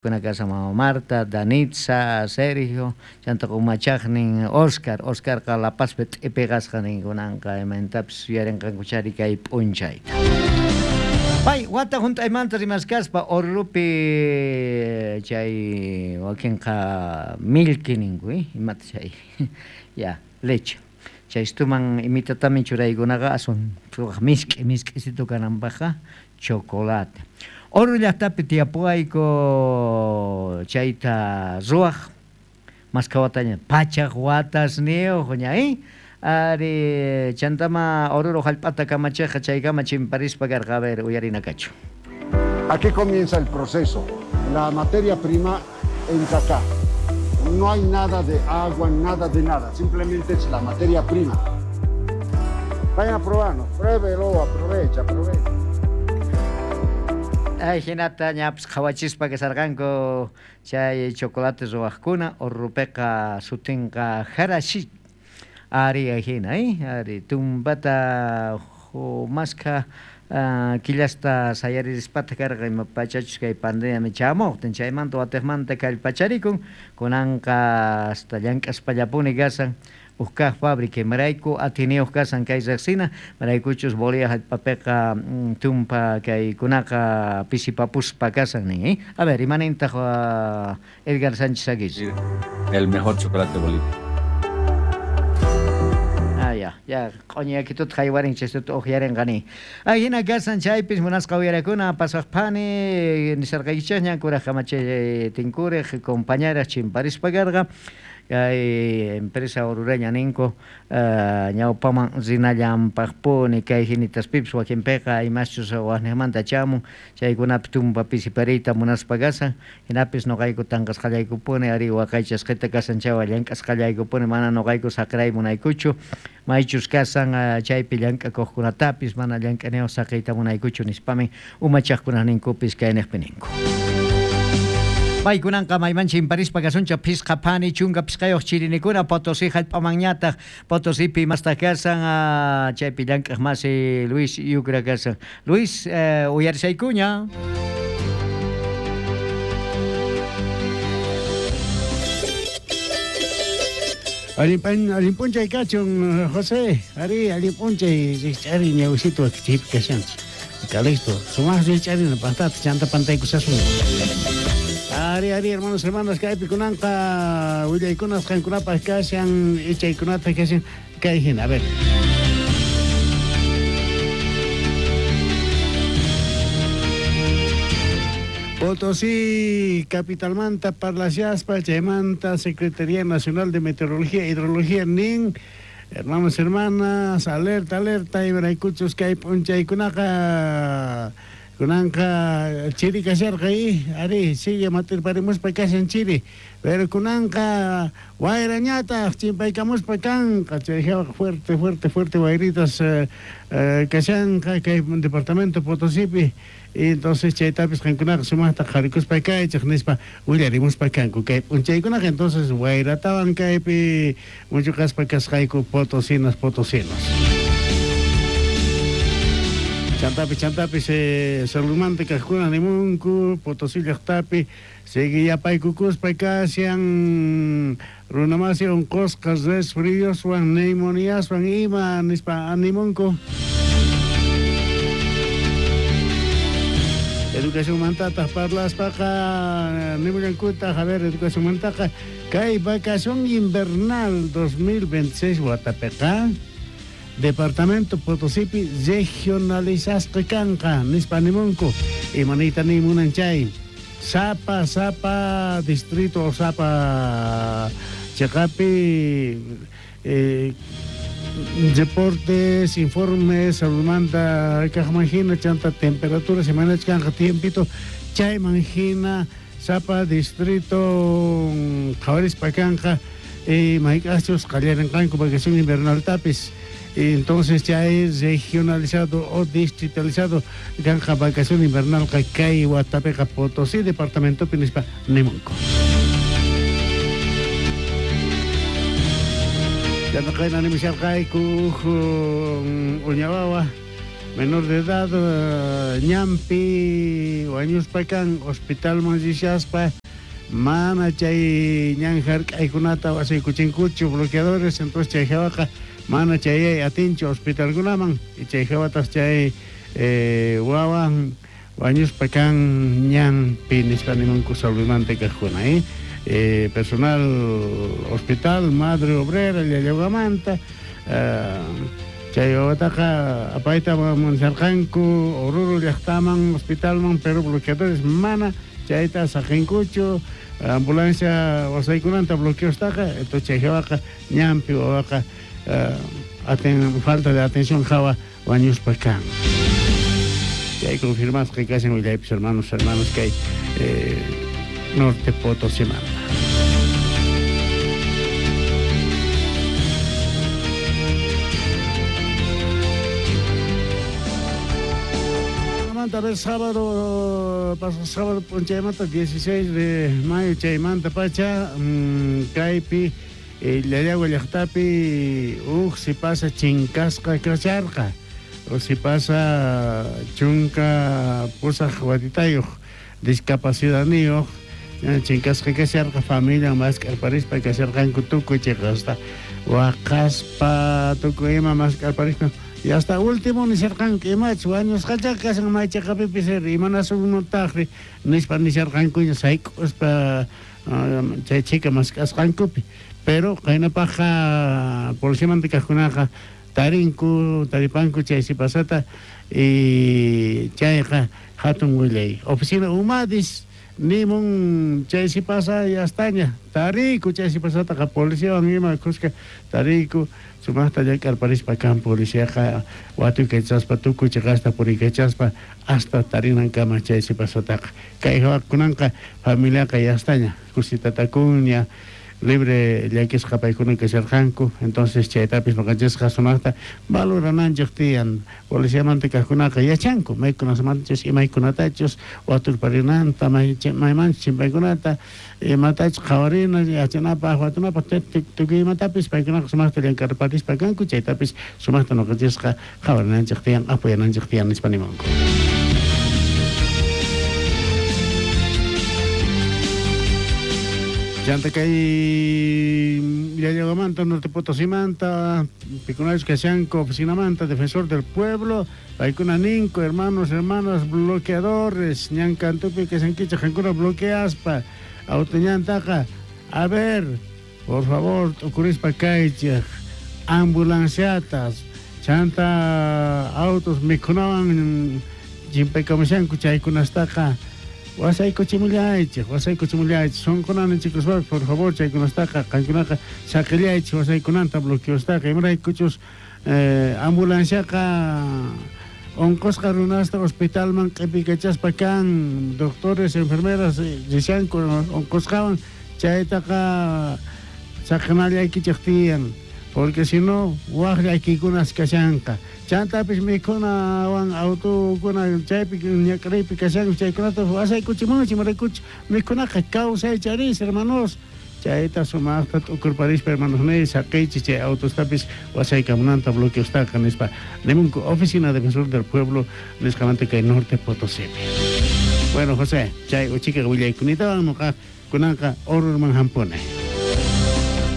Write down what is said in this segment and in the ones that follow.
Kuna kashan mama Marta, Danitza, Sergio, chantaqa umachaqnin Oscar, Oscarqa La Pazpi t'ipiqasqa ninkunanqa imaynatapis yuyarinqankuchari kay p'unchayta. Pay wata hunt'aymanta rimaskaspa Orurupi chay wakinqa milki ninku, imata chay ya leche. Chaystuman imitatamin churaykunaqa aswan misk'i misk'isitu kananpaqqa chocolate. Oruro llaqtapi tiyapuwayku chayta ruwaq maskha wataña pachaq watasniyuq ña ari chantama Oruro hallp'ata kamachiqqa chaykama chimparispa karqa. A ver, uyarina kachu. Aquí comienza el proceso. La materia prima entra acá. No hay nada de agua, nada de nada. Simplemente es la materia prima. Vayan a probarnos. Pruébelo, aprovecha, aprovecha. Ay, hinata ñapis qhawachispa kasarqanku chay chocolate ruwaqkuna Orurupiqa sutinqa Jarashi. Ari hina, ari tumpata maskha killasta sayarispata karqa ima pachachus kay pandemia chamuqtin chaymanta watiqmanta kallpacharikun kunanqa hasta llank'aspallapuni kasan uj kaq fábrica imarayku atiniyuq kasan kay riqsina maraykuchus Bolivia hallp'apiqa tumpa kaykunaqa pisipapuspa kasan nin. A ver, imanintaq Edgar Sánchez Aguirre. El mejor chocolate de Bolivia. Ah, ya, ya, q'uñiyakituta haywarin chaystuta uqyarinqani. Ay, hina kasan chaypis munasqa uyarakuna pasaqpani nisarqaykichikña kuraq kamachi tinkuriq compañeras chimparispa karqa. Kay empresa orureña ninku ñawpaman rinallanpaqpuni kay hinitaspipis wakinpiqa imaschus waqniqmanta chamun chaykunapi tumpa pisipariyta munaspa kasan hinapis nuqayku tanqasqallaykupuni ari waqaychasqita kasan chaywan llank'asqallaykupuni mana nuqayku saqray munaykuchu maychus kasan chaypi llank'akuqkunatapis mana llank'aniyuq saqiyta munaykuchu nispamin umachaqkunaq ninkupis kayniqpi ninku. Paykunanqa mayman chimparispa kasuncha phisqa phani chunka phisqayuq chirinikuna Potosí hallp'amanñataq Potosipi imastaq kasan chaypi llank'aq masi Luis Yucra kasan. Luis, uyarisaykuña. Allin p'unchay kachun, José. Ari, allin p'unchay rikch'ari ñawisitu chaypi kashanchik. Calixto, sumaq rikch'arina pantata chanta pantaykusasun. Ari, ari, hermanos, hermanas, kaypi kunanqa willaykunas qankunapaq kashan, ichaykunata kashan, kay hina, a ver. Potosí, capitalmanta, parlashaspa, chaymanta, Secretaría Nacional de Meteorología e Hidrología, nin, hermanos, hermanas, alerta, alerta, imaraykuchus kay p'unchaykunaqa kunanqa chiri kasharqa ari, sigue matirparimuspa kashan chiri, pero kunanqa wayrañataq chimpaykamuspa kanqa, chay fuerte, fuerte, fuerte wayritas kashanqa kay departamento Potosipi. Y entonces chaytapis qankunaqa sumaqta qharikuspa kaychik nispa willarimuspa kanku kay p'unchaykunaqa. Entonces wayratawan kaypi muchuqaspa kasqayku potosinas, potosinos. Chantapis, chantapis, saludmanta kaqkuna nimunku Potosí llaqtapi seguiyapaykukuspa kashan runamasi unqusqa resfrioswan neumoniaswan ima nispa animunku. Educación mantataq parlaspaqa nimullankutaq, a ver, educación mantaqa kay vacación invernal 2026 watapiqa Departamento Potosipi regionalizasqa kanqa nispa nimunku. Imaniyta nimunan chay sapa sapa distrito o sapa cheqapi reportes, informes, saludmanta kaqman hina chanta temperatura semanach kanqa tiempito chayman hina sapa distrito qhawarispa kanqa mayk'aqchus qallarinqanku vacación invernal tapis. Entonces ya es regionalizado o distritalizado kanqa vacación invernal kay watapiqa Potosí departamento nispa nimunku. Yanaqayna nimusharqayku uñawawa menor de edad ñanpi wañuspa kan hospitalman rishaspa mana chay ñan hark'aykunata wasaykuchinkuchu bloqueadores, entonces chay hawaqa mana chayay atinchu hospitalkunaman y chay hawataj chay wawan wañuspa kan ñanpi nispa nimunku saludmanta kajkuna personal hospital Madre Obrera Llallawamanta chay wawataqa apayta munsarqanku Oruro llaqtaman hospitalman, pero bloqueadores mana chayta saqinkuchu ambulancia wasaykunanta bloqueostaqa, entonces chay hawaqa ñanpi wawaqa falta de atención hawa wañuspa kan. Chay confirmasqa kashan willaypis hermanos kay Norte Potosímanta. A ver, sábado, pasado sábado, punchaymanta, 16 de mayo, chaymanta pacha, kaypi, Llallagua llaqtapi, si pasa chinkasqa kasharqa, o si pasa chunka pusaq watitayuq, discapacidadniyuq, chinkasqa kasharqa, familia mask'arparispa kasharqanku tukuy chiqasta, waqaspa tukuy ima mask'arparispa. Y hasta último nisharqanku imach wañusqacha kashan maychaqapipis imanasunutaqri nispa nisharqankuña sayk'uspa chay chika mask'asqankupi, pero qaynapaqqa policiamanta kaqkunaqa tarinku taripanku chay sipasata y chayqa hatun willay oficina Umadis nimun chay sipasa yastaña tariku chay sipasataqa policiawan ima kuska tariku sumaqta llank'arparispa kan policiaqa watuykachaspa tukuy chiqasta puriykachaspa hasta tarinankama chay sipasataqa kay hawakunanqa familiaqa yastaña kusitatakuña libre llakisqa paykuna kasharqanku, entonces chaytapis noqanchisqa sumaqta valorananchik tiyan policiamanta kaqkunaqa yachanku maykunamanchus imaykunatachus waturparinanta maymanchus chimpaykunata imatachus qhawarina yachanapaq watunapaq tukuy imatapis paykunaqa sumaqta llank'arparispa kanku chaytapis sumaqta noqanchisqa qhawarinanchik tiyan apoyananchik tiyan nispa nimunku. Chanta kay Llallawamanta, Norte Potosimanta, pikunachus kashanku oficinamanta, defensor del pueblo, paykuna ninku, hermanos, hermanas, bloqueadores, ñankantupi kashankichej qankuna bloqueaspa, autoñantaqa, a ver, por favor, t'ukurispa kaychej, ambulanciatas, chanta autos mikhunawan chimpaykamushanku chaykunastaqa, wasaykuchimullaychej, wasaykuchimullaychej, sunqunanichikuspa, por favor, chaykunastaqa, qankunaqa saqillaychej wasaykunanta bloqueostaqa, imaraykuchus ambulanciaqa onqosqa runasta hospitalman q'ipikachaspa kan, doctores, enfermeras rishanku onqosqawan, chaytaqa saqinallaykichej tiyan, porque si no waj llakiykunas kashanqa. Chantapis mikhunawan autokuna chaypi ñak'ariypi kashanku chaykunata wasaykuchimunchik imaraykuchus mikhunaqa kawsaycharis hermanos, chayta sumaqta t'ukurparispa hermanos ni saqiychik chay autostapis wasaykamunanta bloqueostaqa nispa nimunku oficina defensor del pueblo nisqamanta kay Norte Potosipi. Bueno José, chay uchika willaykunatawan noqa kunanqa Orurman hampuni.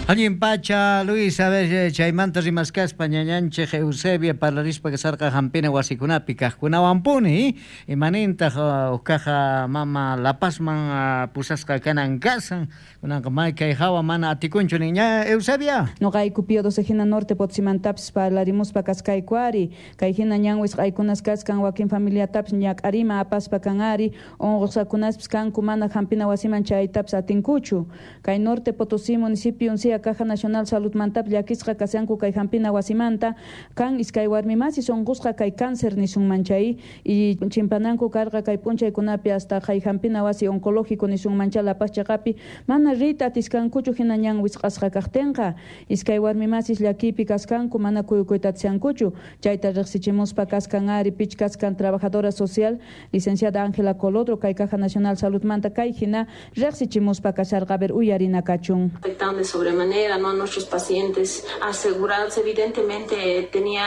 Allin pacha, Luis, a ver, chaymanta rimaskaspa ñañanchej Eusebia parlarispa kasarqa hampina wasikunapi kaqkunawanpuni, imanintaq uqkaqa mama La Pazman pusasqa kanan kasan, kunanqa may kay hawa mana atikunchu niña Eusebia. Noqayku Pío XII hina Norte Potosimantapis parlarimuspa kaskayku ari, kay hina ñan wisq'aykunas kaskan wakin familiatapis ñak'arima apaspa kan ari, unqusqakunaspis kanku mana hampina wasiman chaytapis atinkuchu. Kay Norte Potosí municipio uncia Caja Nacional Salud mantap llakisqa kashanku kay hampina wasimanta kan iskay warmi masis unqusqa kay cáncer nisunman chay y chimpananku karqa kay p'unchaykunapi hasta kay hampina wasi oncológico nisunman chay La Paz chaqapi mana riyta atiskankuchu hina ñan wisq'asqa kaqtinqa iskay warmi masis llakipi kaskanku mana kuyukuyta atishankuchu chayta riqsichimuspa kaskan ari pich kaskan trabajadora social licenciada Ángela Colodro kay Caja Nacional Salud manta kay hina riqsichimuspa kasharqa a ver uyarina kachun. Afectando de sobremanera manera, ¿no?, a nuestros pacientes asegurados. Evidentemente tenía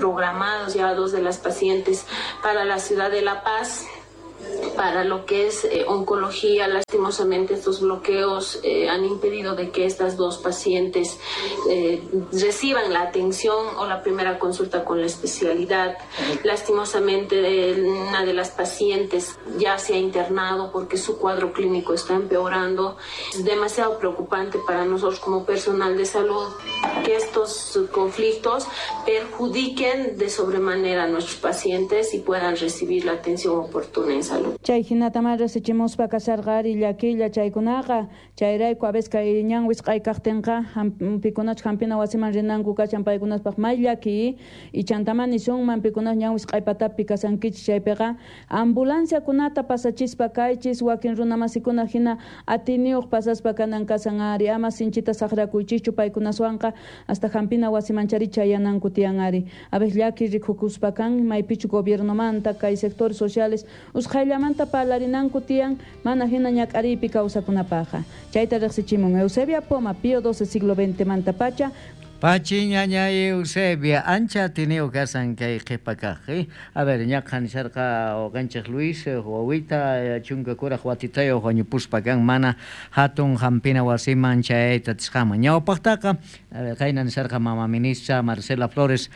programados ya 2 de las pacientes para la ciudad de La Paz, para lo que es oncología. Lastimosamente estos bloqueos han impedido de que estas 2 pacientes reciban la atención o la primera consulta con la especialidad. Lastimosamente una de las pacientes ya se ha internado porque su cuadro clínico está empeorando. Es demasiado preocupante para nosotros como personal de salud que estos conflictos perjudiquen de sobremanera a nuestros pacientes y puedan recibir la atención oportuna en salud. Chay hinata resichimuspa kasarqari llakilla chaykunaqa chayrayku a veces kay ñan wisq'ay kaqtinqa pikunachu hampina wasiman rinanku kashan paykunaspaq may llaki y chantaman nisunman pikunas ñan wisq'ay patapi kasankichis chaypiqa ambulanciakunata pasachispa kaychis wakin runamasikuna hina atiniyuq pasaspa kanan kasan ari ama sinchita saqrakuychischu paykunaswanqa hasta hampina wasiman chari chayananku tiyan ari a veces llaki rikukuspa kan maypichu gobiernomanta kay sectores sociales usqhayllamanta parlarinanku tiyan mana hina ñak'ariypi kawsakunapaqa. Chayta riqsichimun Eusebia Poma, Pío XII, siglo XX manta pacha. Pachi ñaña Eusebia, ancha tenido kasan kay qhipa kaq. A ver, ñaqha nisharqa uqanchik Luis, wawita chunka kuraq watitayuq wañupuspa kan mana hatun hampina wasiman chayayta atisqanman. Ñawpaqtaqa, qayna nisharqa mama ministra Marcela Flores,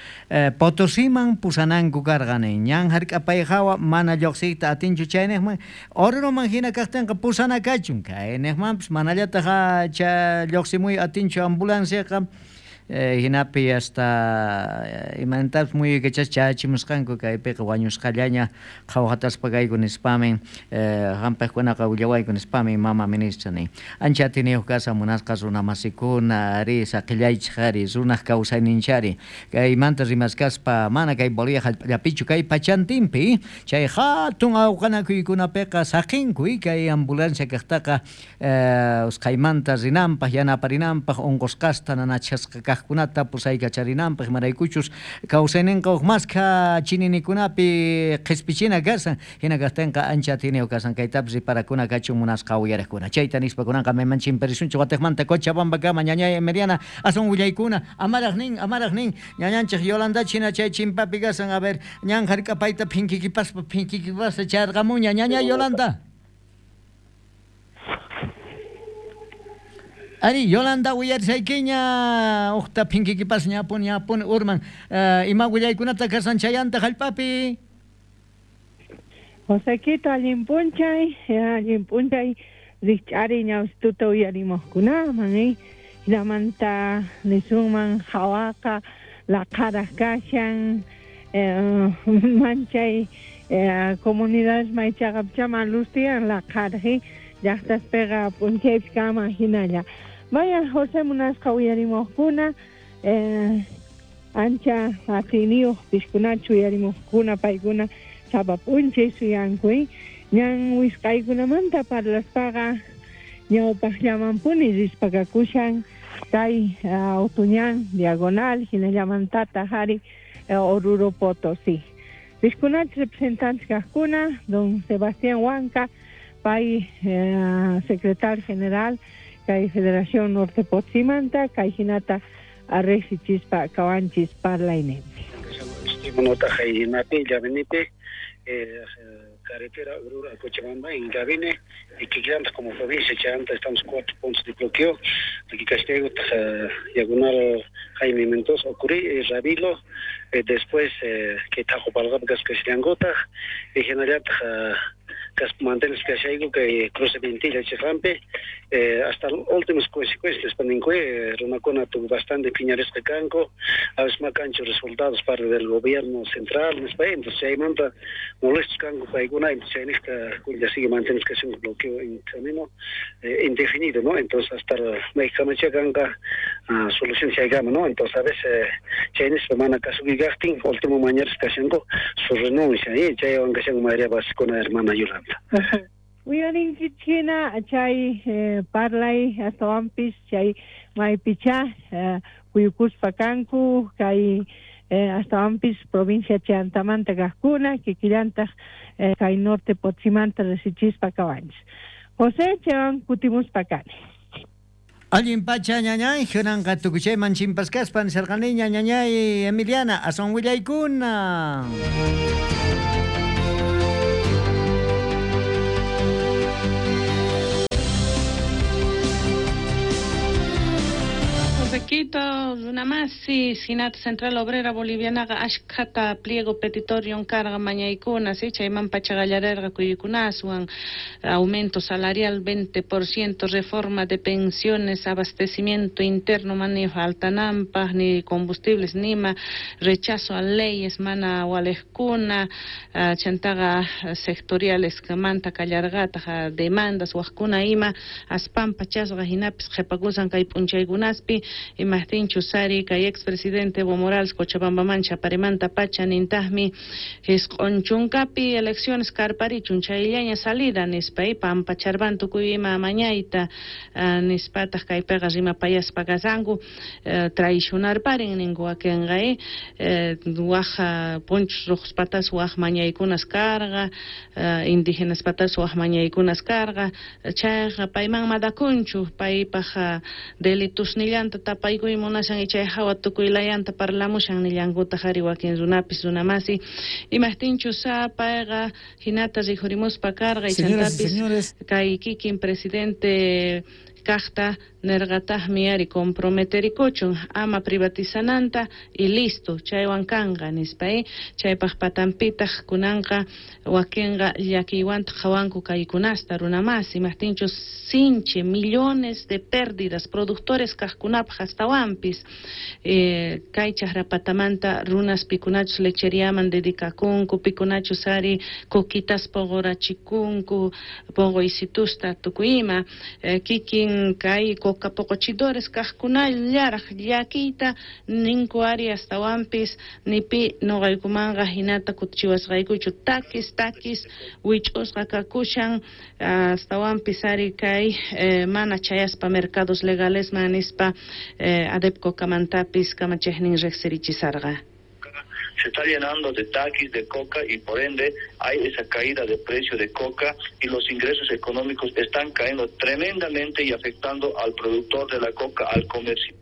Potosiman pusananku karqa nin. Ñan hark'apay hawa mana lluqsiyta atinchu chayniqman, Oruroman hina kaqtinqa pusana kachun. Kayniqmanpis manallataq lluqsimuy atinchu ambulanciaqa. Hinapi hasta imantas muyuykachas chachimusqanku kaypiqa wañusqallaña qhawhataspa kayku nispamin hampiqkunaqa willawayku nispamin mama ministra nin. Ancha atiniyuq kasa munasqa runamasikuna ari saqillaychik ari runaq kawsayninchari kaymanta rimaskaspa mana kay Bolivia hallp'allapichu kay pachantinpi chay hatun awqanakuykunapiqa saqinku kay ambulancia kaqtaqa usqhaymanta rinanpaq yanaparinanpaq unqusqasta nanachasqa kaq kunata pusaykacharinanpaq imaraykuchus kawsayninqa huk maskha chininikunapi qhispichina kasan hina kaqtinqa ancha atiniyuq kasan kaytapis riparakuna kachun munasqa uyariqkuna. Chayta nispa kunanqa mayman chimparisunchik watiqmanta Cochabambakama ñañay Emeriana aswan willaykuna amaraq nin ñañanchik Yolanda china chay chimpapi kasan. A ver, ñan hark'apayta phinkikipaspa charqamuña ñañay Yolanda. Ari, Yolanda uyarisaykiña uqta phinkikipas ñapun urman ima willaykunata kasan chayanta hallp'api. Josequito, allin p'unchay rikch'ari ñawsituta uyarimuqkunaman hinamanta nisunman hawaqa laqharaq kashan manchay comunidades maychaqapchama luz tiyan laqharaq llaqtaspiqa p'unchaypis kaman hinalla. Vaya José munasqa uyarimuqkuna ancha atiniyuq piskunachu uyarimuqkuna paykuna sapa p'unchay suyanku ñan wisq'aykunamanta parlaspaqa ñawpaqllamanpuni rispakakushan kay autuñan diagonal hinallamantataq ari Oruro Potosí. Piskunachu representantes kaqkuna don Sebastián Huanca pay secretario general kay Federación Norte Potsimanta kay hinata arresichispa kawanchis parlayninpi. Hinapi llavenipi carretera Oruro a Cochabamba en Gabine y que como provincia Chanta estamos 4 puntos de bloqueo aquí Castigo diagonal Jaime Mendoza Ocurí Rabilo después que Tajopalgap Cascasillangota y general mantenes que que cruce Ventilla Chiclampe hasta últimas consecuencias paninque runakuna tuvo bastante piñaresca canco a veces más cancho resultados parte del gobierno central entonces ahí manda molestos canco paiguna entonces ahí ya sigue mantenes que un bloqueo en camino indefinido, ¿no? Entonces hasta México canca solución se gama, ¿no? Entonces a veces Chinese semana caso último mañana que su renuncia y ya aunque sea María con la hermana Yolanda. Uyarinkichina chay parlay astawanpis chay maypicha kuyukuspa kanku kay astawanpis provincia Chantamanta kaqkuna kikillantaq kay norte Potsimanta resichispa kawanchis. José chaywan kutimuspa kani. Allin pacha ñañay, kunanqa tukuchayman chimpaskaspa nisarqaniña ñañay Emiliana, aswan willaykuna. Quito, runamasi, Sinat Central Obrera Bolivianaqa ashkhata pliego petitorio carga mañaykuna, sí, chayman pachaqallarerqa kuyukunaswan, aumento salarial 20%, reforma de pensiones, abastecimiento interno mana faltanampaj, ni combustibles nima, rechazo a leyes mana walejkuna, chantaqa sectoriales manta kallarqataq demandas wajkuna ima, aspan pachasqa hinapis qhipakusan kay p'unchaykunaspi, imajtinchu sari kay expresidente Evo Morales Cochabambaman chaparimanta pacha nintaqmi jisq'un chunkapi elecciones karparichun chayllaña salida nispa pampacharban tukuy ima mañayta nispataq kaypiqa rimapayaspa kasanku traicionarparin ninku wakinqa waj punchus ruqspatas waj mañaykunas karqa indígenas patas waj mañaykunas karqa chayqa payman madakunchu paypaq delitusnillanta tapaykuy munashan chay hawa tukuylayanta parlamushan nillankutaq ari wakin runapis runamasi imajtinchu sa payqa hinata rikhurimuspa karqa chantapis kay kikin presidente kaqta nerqataqmi ari comprometerikuchun ama privatizananta y listo chaywan kanqa nispa chaypaq patanpitaq kunanqa wakinqa llakiywantaq qhawanku kaykunasta runamasi imajtinchu sinchi millones de pérdidas productores kaqkunapaq astawanpis kay chaqrapatamanta runas pikunachus lecheriaman dedicakunku pikunachus ari coquitas poqorachikunku poqoysitusta tukuy ima kikin kay coca poqochidores kaqkunallaraq llakiyta ninku ari astawanpis nipi noqaykumanqa hinata kutichiwasqaykuchu takis takis wich'usqa kakushan astawanpis ari kay mana chayaspa mercados legalesman nispa ADEPCO kamantapis kamachiqnin riqsirichisarqa. Se está llenando de taquis, de coca y por ende hay esa caída de precio de coca y los ingresos económicos están cayendo tremendamente y afectando al productor de la coca, al comercio.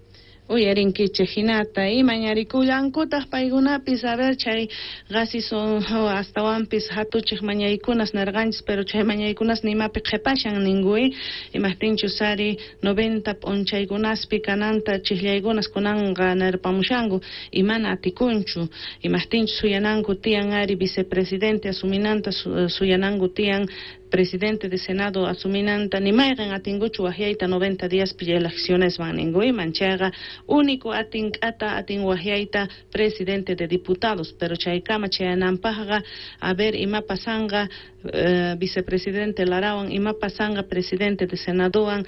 Uyarinkichej hinata imañarikullankutaq paykunapis a ver chay qasi son astawanpis hatuchej mañaykunas nerqanchis pero chay mañaykunas nimapi qhipashan ninkuy imajtinchus ari 90 p'unchaykunaspi kananta chijllaykunas kunanqa nerpamushanku y mana atikunchu imajtinchus suyananku tiyan ari vicepresidente asuminanta suyananku tiyan presidente de Senado asuminanta ni mayqin atinkuchu wajyayta 90 días elecciones van ninkuyman chayqa único atin k'ata atin wajyayta presidente de diputados pero chaykama chayananpaqqa a ver ima pasanqa vicepresidente Larawan ima pasanqa presidente de Senadowan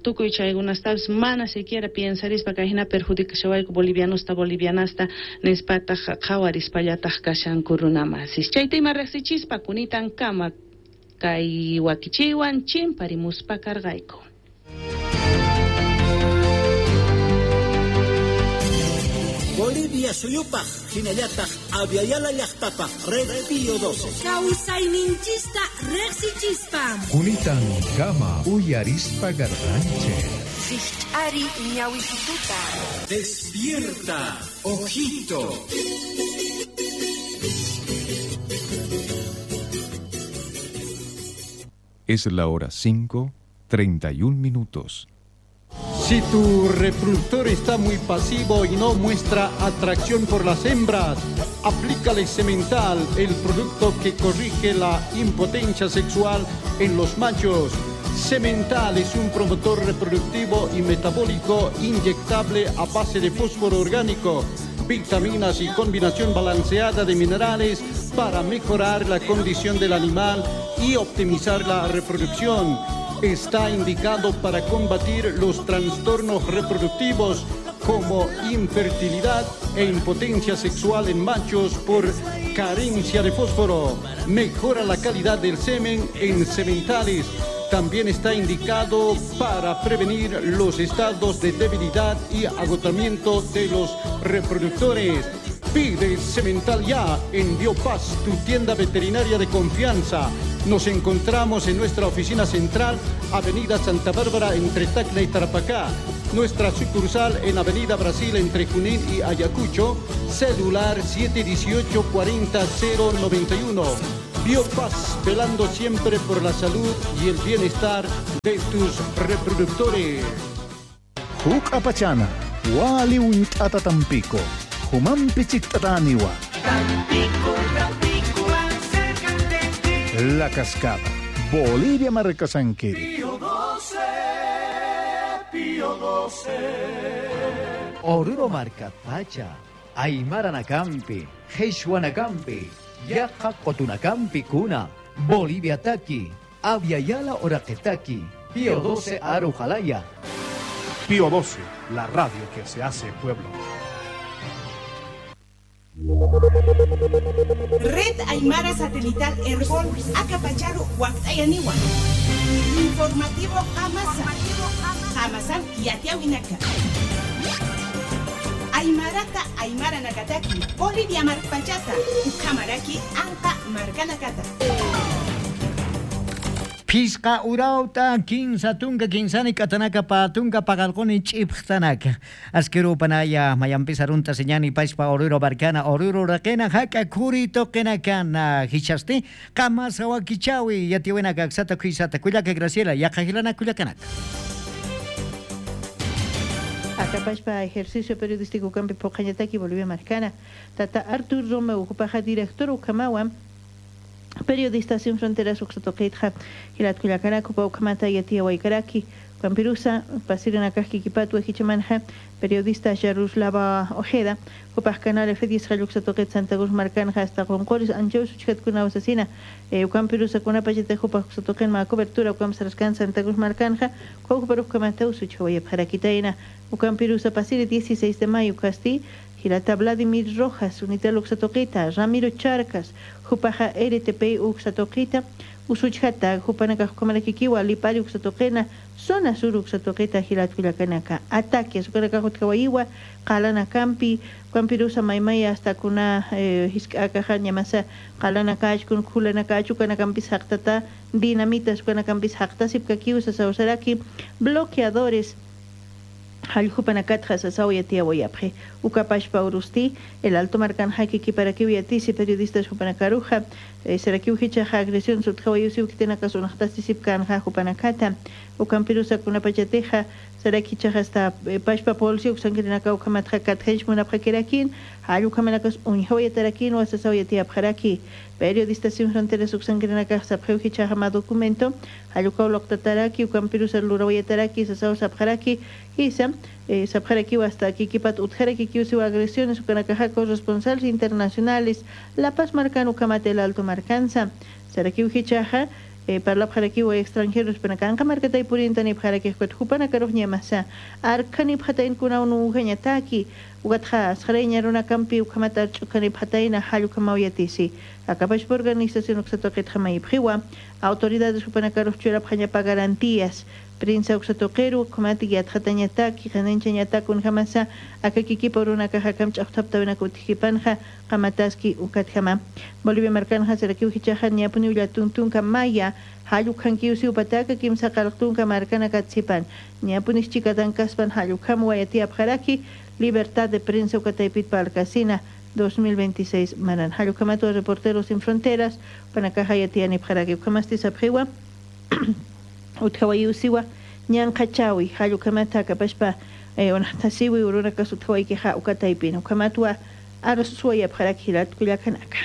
tukuy chaykunastapis mana siquiera piensarispa kay hina perjudicashawayku bolivianosta bolivianasta nispataq qhawarispallataj kashanku runamasis chayta ima riqsichispa kunitan kama kay wakichiwan chimparimuspa karqayku. Bolivia suyupaj, hinallataq Aviala llaqtapaj, Red Pío 12. Kawsayninchista riqsichispa. Kunitan kama uyarispa garranche. Rijch'ari ñawisituta. Despierta, ojito. Es la hora 5:31 minutos. Si tu reproductor está muy pasivo y no muestra atracción por las hembras, aplícale Semental, el producto que corrige la impotencia sexual en los machos. Semental es un promotor reproductivo y metabólico inyectable a base de fósforo orgánico, vitaminas y combinación balanceada de minerales para mejorar la condición del animal y optimizar la reproducción. Está indicado para combatir los trastornos reproductivos como infertilidad e impotencia sexual en machos por carencia de fósforo. Mejora la calidad del semen en sementales. También está indicado para prevenir los estados de debilidad y agotamiento de los reproductores. Pide Semental ya en Biopaz, tu tienda veterinaria de confianza. Nos encontramos en nuestra oficina central, Avenida Santa Bárbara, entre Tacna y Tarapacá. Nuestra sucursal en Avenida Brasil, entre Junín y Ayacucho. Celular 718 40091. Biopaz, velando siempre por la salud y el bienestar de tus reproductores. Huk apachana, wali unt'ata tampico, humanpi chikt'ataniwa. La Cascada, Bolivia Marcasanquiri. Pío 12, Pío 12. Oruro Marca Pacha, Aymara Nakampi, Nakampi, Yaqa Qotunacampi Kuna, Bolivia Taki, Aviala Oraqetaki, Pío 12 Arujalaya. Pío 12, la radio que se hace pueblo. Red Aymara Satelital Herbol Acapacharu Huactayaniwa. Informativo Amasa. Amasan Yatiawinaka. Aymarata Aymara Nakataki, Bolivia Marpachata, Ukamaraki, Anka Markanakata. Pisqa urauta kinsa tunka kinsani katanaka patunka pagalqoni ch'ipqtanaka askirupanaya mayanpis arunta señani pashpa oruro barcana oruro raqena haka kuri toqenakana hichasti qamasa wakichawi yatiwinaka aksata kuisata kullaka Graciela yaqajilana kullakanaka. Acapashpa ejercicio periodístico campi poqañataki Bolivia Marcana Tata Artur Romeo Jupaja director Ukamawa Periodistas Sin Fronteras Uxatoqitja Hilatkullakarako Paukamata Yatia Waikaraki Campirusa Pasirinakajki Kipatu Ejichamanja periodista Yaruslava Ojeda Jupaj Canal F10 Jalluxatoqit Santa Cruz Marcanja hasta Qonqoris Anchaw Suchkatkuna Usasina Campirusa Kunapachita Jupaj Uxatoqin ma cobertura Ucam Sarascan Santa Cruz Marcanja Cuaujuparuj Usuchawayapjarakitayna Ucampirusa Pasiri 16 de mayo Casti Gilata Vladimir Rojas, Unitel Uxatoquita, Ramiro Charcas, Jupaja RTP Uxatoquita, Usuchata, Jupanaka Jukamarakikiwa, Lipari Uxatoquena, Zona Sur Uxatoquita, Gilatcuyacanaka, Ataques, Ucaracajutkawayiwa, Qalana Campi, Campirusa Maymaya, hasta Kuna Hiskakaja, Ñamasa, Qalana Kachkun, Kulana Kachucana Campis Jactata, Dinamitas, Ucanacampis Jacta, Sipkakiusa, Sausaraki, bloqueadores. Halljupanakatja sasawayatiawayapje Ukapashpa Urusti, el Alto Marcan Jaque Parakiwiatisi, periodistas Jupanakaruja, Serakiujichaja, agresión Sutjawayusiuktenaka Sunajtasisipkanja Jupanakata, Ukampirusa Kunapachateja, Serakichaja hasta Pashpa Polsi, Uxankirinaka Ukamatja Katjench Munapjakerakin, Hayukamanakas Unjawayatarakin, Wasasawayatiapjaraki, Periodistas Sin Fronteras Uxankirinaka Sapjeujichaja ma documento, Hayukauloktataraki, Ukampirusa Lurawayataraki, Sasaw Sapjaraki, Isa, Sapjaraki hasta Kikipat Utjaraki Kiusiwa agresiones Ukanakaja corresponsales internacionales, La Paz Marcan Ukamate el Alto Marcanza, Sarakiujichaja, Parlapjarakiwa extranjeros Panakanka Markatay Purintani Pjarakijuat Jupanakaruj Ñamasa, Arkani Pjatain Kunaunu Ujañataki, Ugatja, Sjareña Runakampi Ukamata Chukani Pjataina Hayukamawayatisi, Akapashpa organización Uxatoqitjamayipjiwa, autoridades Jupanakaruj Churapjañapa garantías, Prensa Uxatoqeru, Kumati Yatjatañataki, Janenchañatakun Jamasa, Akakikipa Runakaja Kamch'aqtaptawinakutijipanja, Qamataski Ukatjama. Bolivia Marcanja, Serakiujichaja, Ñapuni Ullatuntunka Maya, Hayukankiusi Upataka, Kimsa Qalqtunka Marcana Katsipan, Ñapunis Chikatankaspan, Hayukam Wayatiapjaraki, Libertad de Prensa Ukataypit Palcasina, 2026 Maran. Hayukamato Reporteros Sin Fronteras, Panakaja Yatianipjaraki, Ukamasti Sapjiwa, Utjawayusiwa, Ñanqachawi, Hayukamata Kapashpa, Onatasiwi, Urunaka Sutjawaykija Ukataypin, Ukamatwa, Arsuayapjaraki Hilat Kullakanaka.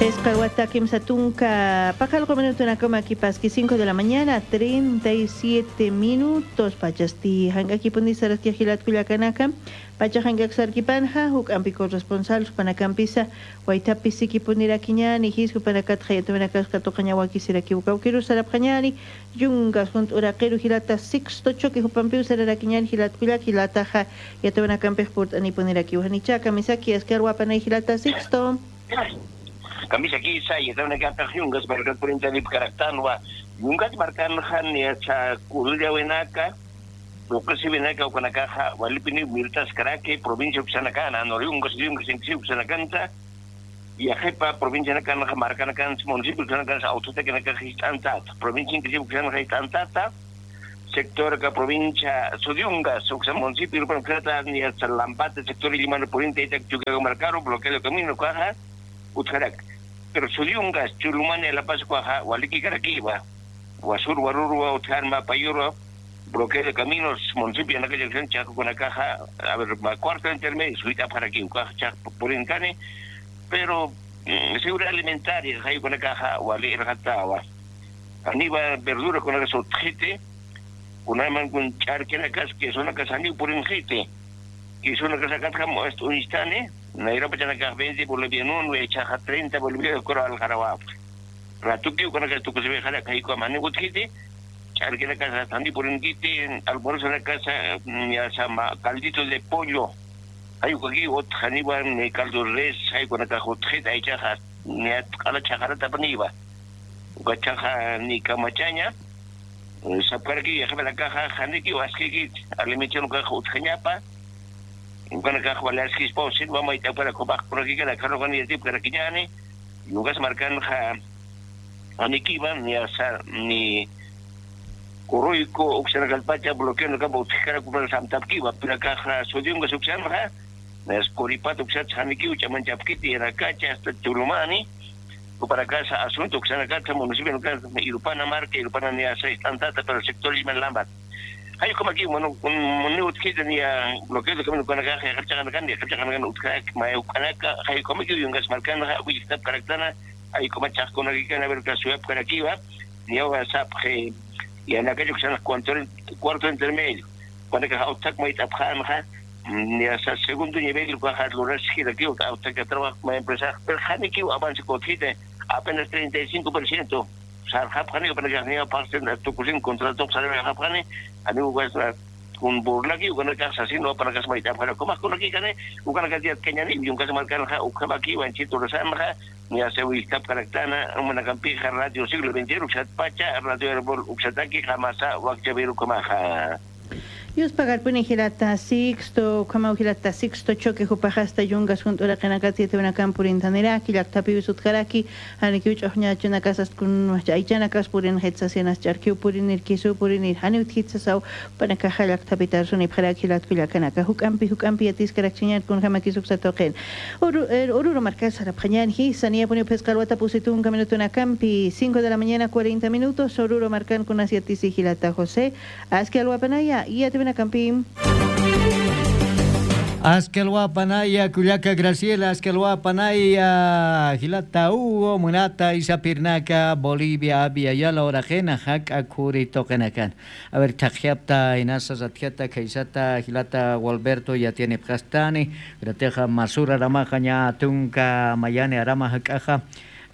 Escarguata Kimsatunka, Pajalgo minuto na coma aquí pasqui 5 de la mañana, 37 minutos, Pachasti, Hangaki Pundisaraskia Gilat Kullakanaka, Pacha Hangak Sarkipanja, Huk Ampi corresponsal, Panacampisa, Waitapi Siki Punirakiñani, Hisku Panakat Hayatumanakaska Tocañawaki Siraki Ukaukiru Sarapjañani, Yungas Junt Uraqiru Gilata Sixto Choque Jupampiu Sararakiñani, Gilat Kullak, Gilataja, Yatumanakampej Purt Anipuniraki Ujanichaka, Misaki, Ascarhuapanay Gilata Sixto. Camisa kisa y está una campa yungas marcan 40 de caractanwa yungas marcan han ya cha kulya wenaka Tuqasibinaka ukanakaja walipini mirtas karake provincia uxanakana noriunga siunga sinksi uxanakanta yajepa provincia nakana markanakan municipio uxanakan autoteca histantata provincia inclusive uxanakan histantata sector ka provincia Sudiunga uxan municipio urbano ni hasta Lampate sector Ilimano Poniente Itac Chucago Marcaro bloqueo de camino caja Utjarak pero Sudiunga Chulumane La Paz cuaja Waliki Caraquiba Guasur Guarurua Utjarma Payurua bloqueo de caminos, municipio en aquella acción, Chaco con la caja, a ver, cuarto intermedio, suita para aquí, caja, Chaco por encane, pero seguridad alimentaria, ahí con la caja, o al jatawa. Aníbal verdura con la sotjete, con una con charque la casa, que son la casa ni por enjete, que son la casa caja, esto un instante, Naira pachana caja 20 boliviano, 1, chaja 30 boliviano, coro al jarawa. Ratuki con la casa, tu que se ve jara, caí con mane gutjete, charque la casa, tandi por enquite, almuerzo en la casa, ya sama, caldito de pollo. Hay aquí, ot, janiba, caldo res, hay con la caja, otjeta, hay chaja, ni a la chajarata paniba. Ucachaja ni camachaña, sapcarqui, ya la caja, janiki, o asquiki, alimentación, caja, otjañapa, con la caja, vale, asquis, pau, silva, maita, para copaj, por aquí, que la carro, con el tipo, caraquiñane, y un gas marcan, ja, aniquiba, ni asa, ni Corroico, Uxanagalpacha, bloqueo no campo, Uxcara, Cupra, Samtapkiwa, Piracaja, Sodiunga, Uxanja, Nas Coripato, Uxat, Janiqui, Chamanchapquiti, Eracacha, hasta Chulumani, para casa, Asunto, Uxanacacha, municipio, Irupana, Marca, Irupana, Niasa, Tantata, pero el sector Ismael Lambat. Hay como aquí, bueno, un utjita, ni a bloqueo de camino con la caja, Jachanacan, Jachanacan, Uxac, Mayucanaca, hay como aquí, Yungas Marcana, Huixtap, Caractana, hay como Chasconagicana, Verca, Ciudad, Caraquiba, ni Agua, Zapje, y en aquello que se cuarto intermedio, cuando que autak mai tapjanja, ni hasta segundo nivel bajar los que aquí autak que trabaja más empresa, pero janiki avance cotite apenas 35%, sarjap jani para que ni aparte tu cusin contrato sale japjani, amigo guasna con burlaki con la casa así no para que se mai tapjana, como con aquí cane, con la que keñani, y un caso marcar ja ukabaki wanchito rosamja, ni hace huistap caractana, una campija radio siglo XXI, Uxatpacha, radio Herbol, Uxataki, Jamasa, Huacchaviru, Comaja. Yus pagar puni hilata sixto, kama hilata sixto choque jupajasta yungas junto a la canacati te una campurin taneraki, lactapi usutkaraki, anikiuch oñachuna casas kun aichana caspurin hetsasenas charkiupurin irkisupurin irhaniut hitsasau, panakaja lactapitar sunipjaraki latkuyakanaka, hukampi hukampi atiskarachñar kun jamakisuxatoqen. Oruro marcas arapjañan hi, sanía pone pescalhuata pusitun camino campi, 5 de la mañana 40 minutos, Oruro marcan con asiatisi hilata José, asque alhuapanaya, y a Campín. Asquelhuapanaya, Cuyaca Graciela, Asquelhuapanaya, Gilata Hugo, Munata, Isapirnaca, Bolivia, Abia, Yala, Orajena, Jaca, Curi, Tokenacan. A ver, Tajiapta, Inasa, Zatiata, Kaisata, Gilata, Gualberto, ya tiene Pjastani, Grateja, Masura, Ramaja, Ña, Tunca, Mayane, Arama, Jacaja.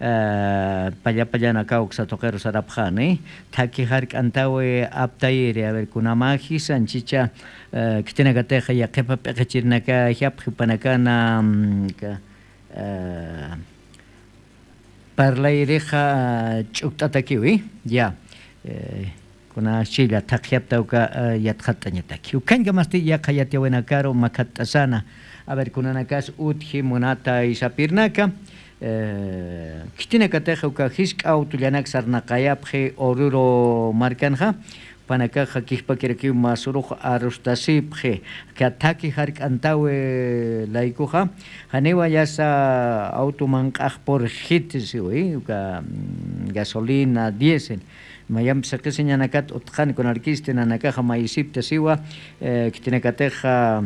Paya payana kauxa toquero sarapjani taki hark antawe aptayere a ver kunamaji sanchicha kitina kateja ya qepa peqechirnaka hiap jipanakana parlayreja ch'ukt'atakiwi ya kuna chilla taqhiaptauka yatqatañataki ukanka masti yaqa yatiawenakaro makat'asana a ver kunanakas utji munata isapirnaka Kitina kateja uka hisk autullanak sarnaqayapji Oruro markanja panakaja kihpakirakiw masuruj arustasipji kataki hark'antawe laykuja haniwa yasa auto mank'aj por hit siwi uka gasolina diésel mayam saqisiñanakat utqani con arquiste nanakaja maysipta siwa kitina kateja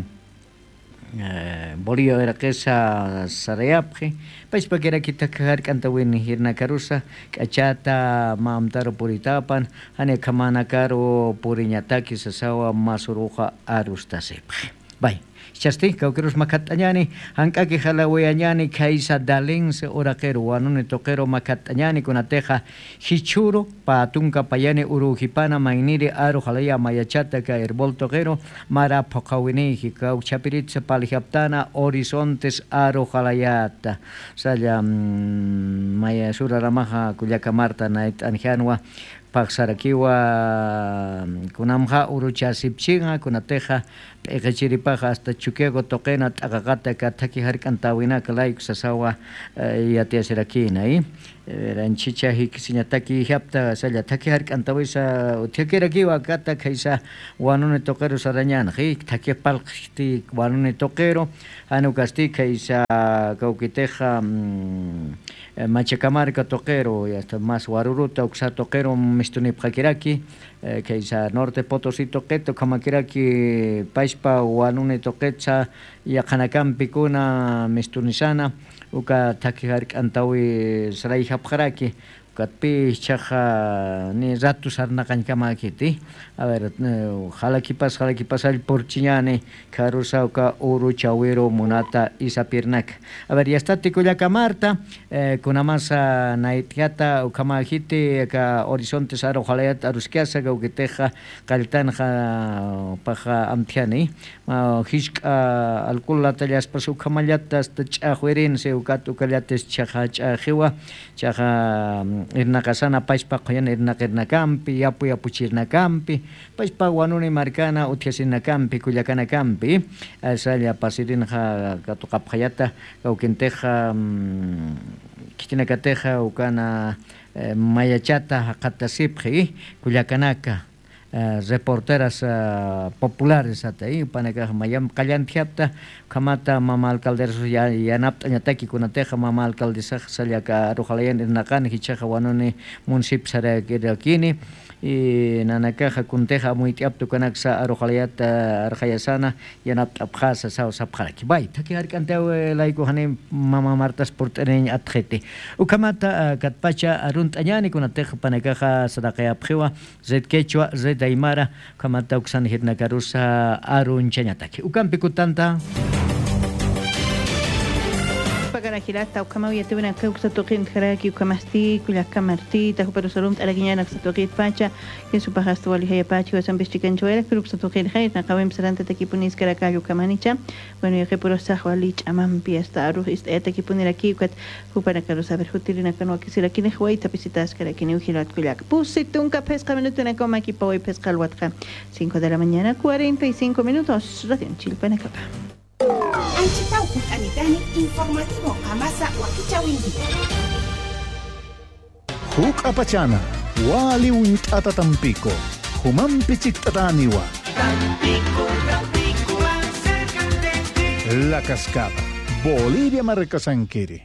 Bolivia veraqesa sarayapji paypa kirakitaka hark'antawini hirnakarusa k'achata mamtaro puritapan hani kamanakaro puriñataki sasawa masuruja arustasipji bay Chasti kawkirus makat'añani hank'aki jalawiañani kaysa dalense oraqero wanuni toqero makat'añani kunateja hichuro patunka payani urujipana mayniri aru jalaya mayachata ka herbol toqero mara phoqawiniji kawchapiritza palijaptana horizontes aru jalayata salla maya suraramaja kullaka marta nait'anjanwa Paqsarakiwa kunamqa uruchasipchinqa kunateja p'iqichiripaqa hasta Chuquiago toqena t'aqaqata ka thaki hark'antawinaka layku sasawa yatiyasirakina ranchicha hikisiñataki hapta salla thaki hark'antawisa uthiakirakiwa kata kaysa wanuni toqero sarañana thaki palqti wanuni toqero hanukasti kaysa kawkiteja Machacamarca toqero y hasta más waruruta uksa toqero mistunipqakiraki kaysa Norte Potosí toqeto kamakiraki paispa wanuni toqetsa yaqhanakampi kuna mistunisana uka thaki hark'antawi sarayhapqaraki katpi chaja ni ratu sarnaqankamakiti a ver jalakipas jalakipasall porchiñani karusa uka uru chawiro munata isapirnak a ver ya está tikullaka Marta kunamasa naitiata ukamajiti ka horizonte saro jalayat aruskiasa kaukiteja qalltanja paja amtiani hishk'a alkulata llaspas ukamallata hasta ch'aqwirinse ukat ukallates chaja ch'ajiwa chaja irnaqasana paispa qoyan irnaqirnakampi yapu yapuchirnakampi paispa wanuni markana uthiasinakampi kullakanakampi asalla pasirinja katuqapqayata kawkinteja kitinakateja ukana mayachata haqatasipqi kullakanaka reporteras populares ata panaka mayam qallantiapta kamata mama alcaldesa yanapta ñataki kunateja mama alcaldesa sallaka arujalayan irnaqani hichaja wanuni municipio sarakirakini y nanakaja kunteja muytiaptu kanaksa arujalayata arjayasana yanapta apjasa saw sapjaraki bay taki hark'antaw layku hanin mama Martas portereñ atjete ukamata katpacha arunt'añani kunateja panakaja saraqayapjiwa red quechua red aymara kamata uksan hirnakarusa arunchañataki ukampi kutanta Pagarajilata ukamawi yatibina kawsatuqin jaraki ukamasti kullakamartita juperusalum taraquiñana ksatuqit pacha yesupajastu walihaya pacha wasanpichikanchuera pero ksatuqin jayna qawim saranta takipunis karakayo kamanicha bueno yaqipurosaj walich amampi hasta aruj ist'ayatakipuniraki ukat jupanakaru saber jutirina kanwakisirakini huayta pisitas karakini ujilat kullak pusitunka pesca minuto na coma kipawi pesca alhuatqa 5 de la mañana 45 minutos Radio Chilpanacapa. Anchitau Anitani, informativo Amasa Wakichawingi. Huk apachana, wali untata tampico, humampi chiktataniwa. Tampico, Tampico, acércate. La Cascada, Bolivia Marcasanquiri.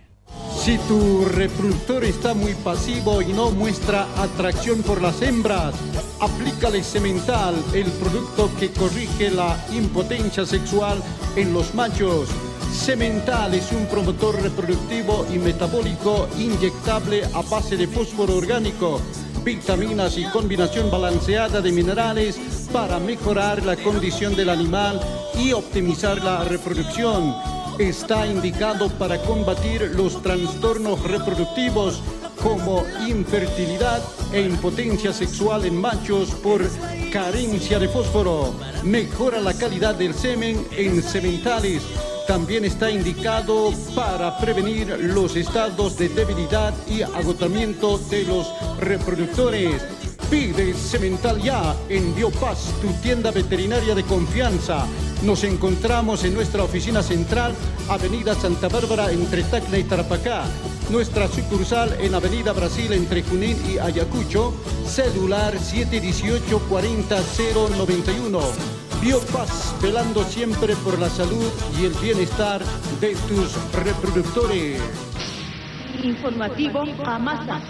Si tu reproductor está muy pasivo y no muestra atracción por las hembras, aplícale Semental, el producto que corrige la impotencia sexual en los machos. Semental es un promotor reproductivo y metabólico inyectable a base de fósforo orgánico, vitaminas y combinación balanceada de minerales para mejorar la condición del animal y optimizar la reproducción. Está indicado para combatir los trastornos reproductivos como infertilidad e impotencia sexual en machos por carencia de fósforo. Mejora la calidad del semen en sementales. También está indicado para prevenir los estados de debilidad y agotamiento de los reproductores. Pide Semental ya en Biopaz, tu tienda veterinaria de confianza. Nos encontramos en nuestra oficina central, Avenida Santa Bárbara, entre Tacna y Tarapacá. Nuestra sucursal en Avenida Brasil, entre Junín y Ayacucho. Celular 718-40091. Biopaz, velando siempre por la salud y el bienestar de tus reproductores. Informativo Amasa.